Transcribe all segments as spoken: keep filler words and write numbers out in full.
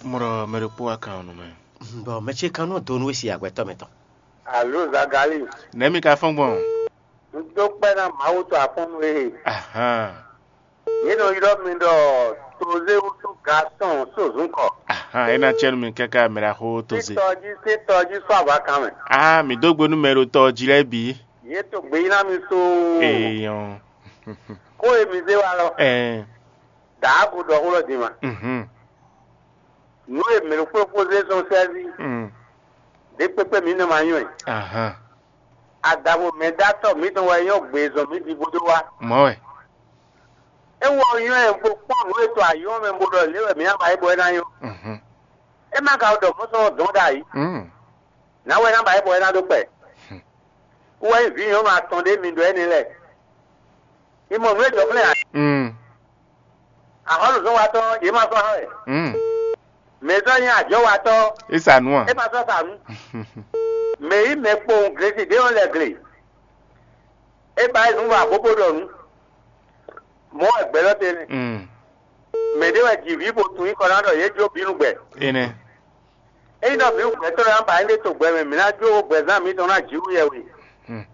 Mɔ ɖɔ mɛ ɖokpó wá kan ɔ́ nú mɛ. Bɔ mɛ ce kan nɔ do nú we si agbɛtɔ́ mɛ tɔn. Alo Zagali, Nɛ̌ mi ka fɔ́n gbɔn? Un dó kpɛ́ ná Mawu tɔn afɔ́nnu e. Ahan. Yě nɔ ylɔ́ mi ɖɔ Tozé wútu Gaston Sozúnkɔ. Ahan, é ná cɛ́ nú mi káká mɛ ɖaxó Tozé. Títɔjí títɔjí sɔ́ avǎkan mɛ. Ah, mi dó gbe nú mɛ ɖo tɔ jí lɛ́ɛ bǐ. Yě to gbeyíná mi so. Èèyàn. Kó e mi zé wa lɔ. Ɛɛ. Dǎago ɖɔ xó lɔ din ma. Mhm. Nǔ e mɛ ɖokpó ɖokpó zé sɔn sɛ́ví. Mm. Ɖě kpékpé mǐ nɔ ma nyɔ́ ɛ. Ahan. Adavo mɛ dó atɔ mǐtɔn wɛ nyɔ́ gbezɔn mǐ ɖi bó dó wá. Mɔ̌ wɛ. É wɔ nyɔ́ ɛ bó kpɔ́n nǔ e to ayɔ́ mɛ bó ɖɔ lě wɛ mǐ ná ba é bɔ é ná nyɔ́. Mhm. É má ka ɖɔ mɔ̌ sɔn dɔn ɖ'ayǐ. Mm. Nǎ wɛ ná ba é bɔ é ná ɖó kpɛ. Wɛ nyí vǐ nyɔ̌nu atɔn ɖé mi ɖɔ énɛ́ lɛ́ɛ. Mi mɔ nǔ e jɔ flɛ́n ǎ. Mm. Axɔ́luzɔ́nwatɔ́ yě ma sɔ́ hán wɛ. Mm. Mɛ e sɔ́ nyí ajɔ̌watɔ́ É sa nǔ a? É ma sɔ́ sa nǔ. Mɛ e yí mɛ kpowun glesi ɖé ɔ́ lɛ gle. É ba é nǔ wa bó bó ɖɔ nǔ. Mɔ̌ wɛ gbɛ̌ lɔ te nɛ́. Mm. Mɛ ɖé wɛ ji vǐ bo tunwun nyǐkɔ ná ɖɔ yě jó bǐ nú gbɛ. Énɛ́. Ényí ɖɔ mǐ gbɛtɔ́ lɛ́ɛ ná ba éɖée to gbɛ mɛ, mǐ ná jó gbɛzán mǐtɔn ná jǐ wú yɛwe. Hmm.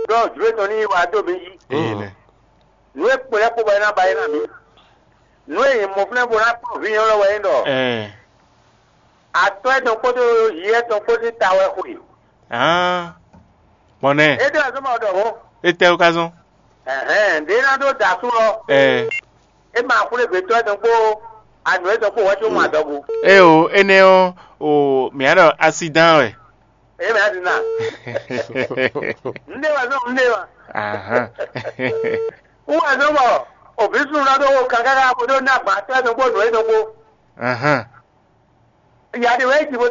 Ɖɔ jlǒ tɔn ní yi wá dó mǐ jí. Énɛ́. Nǔ e kpo lɛ́ɛ kpo bɔ é ná ba é ná mǐ. Nǔ e nyǐ mɔ flɛ́ bó ná kplɔ́n vǐ nyɔ́lɔ́ wɛ é ɖɔ. Ɛɛ. Atɔ́ etɔn kpódó yí etɔn kpó sín ta wɛ xwe. Hán. Gbɔn nɛ. É ɖɔ zɔ́n ma ɖɔ hɔn. Étɛ́ wú ka zɔ́n? Ɛhɛn, ɖě ná ɖó da asú lɔ. Ɛɛ. É ma xwlé gbětɔ́ etɔn kpó anǔ etɔn kpó wɛ́ có mɔ adɔgo. Ée o, énɛ́ ɔ́, o mǐ á ɖɔ asidán wɛ. É mɛ adi na. Nde wa zɔn nde wa. Ahán. Wọ́n wá zɔn bɔ òbí sùn lọ́dọ̀ wo kankan ká kó dó ná gbà tẹ́ tó gbó nù é tó gbó. Ahán. Ìyá de wẹ́ jì bó